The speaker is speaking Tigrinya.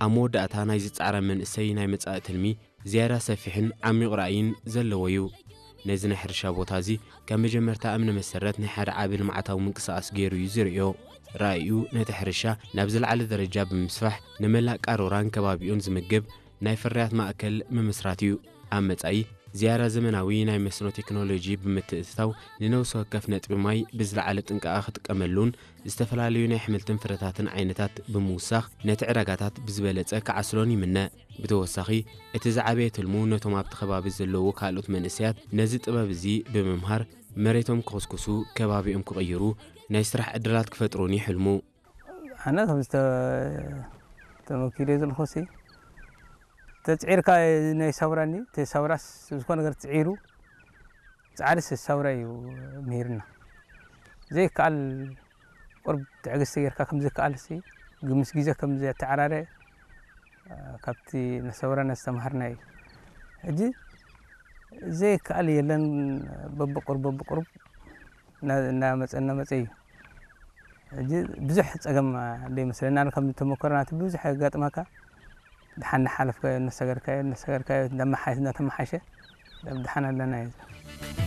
ኣብ መወዳእታ ናይዚ ጻዕራም መንእሰይ ናይ መጻኢ ትልሚ ዝያዳ ሰፊሕን ዓሚቕ ራእይን ዘለዎ እዩ። ነዚ ናይ ሕርሻ ቦታ እዚ ከም መጀመርታ እምነ መሰረት ናይ ሓደ ዓቢ ልምዓታዊ ምንቅስቓስ ገይሩ እዩ ዝርእዮ። ራእዩ ነቲ ሕርሻ ናብ ዝለዓለ ደረጃ ብምስፋሕ ንመላእ ቃሮራን ከባቢኡን ዝምግብ ናይ ፍርያት ማእከል ምምስራት እዩ። ኣብ መጻኢ ዝያዳ ዘመናዊ ናይ መስኖ ቴክኖሎጂ ብምትእትታው ንነብሲ ወከፍ ነጥቢ ማይ ብዝለዓለ ጥንቃቐ ክጥቀመሉን ዝተፈላለዩ ናይ ኣሕምልትን ፍረታትን ዓይነታት ብምውሳኽ ነቲ ዕዳጋታት ብዝበለጸ ክዓስሎን ይምነ። ብተወሳኺ እቲ ዝዓበየ ትልሙ ነቶም ኣብቲ ከባቢ ዘለዉ ካልኦት መንእሰያት ነዚ ጥበብ እዚ ብምምሃር መሬቶም ክኹስኩሱ፣ ከባቢኦም ክቕይሩ፣ ናይ ስራሕ ዕድላት ክፈጥሩን ይሕልሙ። ኣነ ከም ዝተ-፣ ተመኪረ ዘለኹ ሲ ተጽዒርካ ናይ ሳውራኒ፣ እቲ ሳውራስ ዝኾነ ነገር ጽዒሩ፣ ጻዕሪ ሲ ሳውራ እዩ ምሂርና። ዘይከኣል ቁርብ ትዕግስቲ ጌርካ ከም ዝከኣል ሲ፣ ምስ ግዜ ከም ዘተዓራረ፣ ካብቲ ነሰውራና ዝተምሃርና እዩ። ሕጂ ዘይከኣል የለን፣ በብቁርብ በብቁርብ እና-፣ እናመጸ እናመጸ እዩ። ሕጂ ብዙሕ ጸገም ዶ ይመስለና፣ ከም ተመኮሮ ናቲ ብዙሕ የጋጥመካ። ድሓን እናሓለፍካዮ፣ እናሰገርካዮ፣ እናሰገርካዮ፣ እንዳመሓ-፣ እናተመሓሸ፣ ድሓን ኣለና እዩ።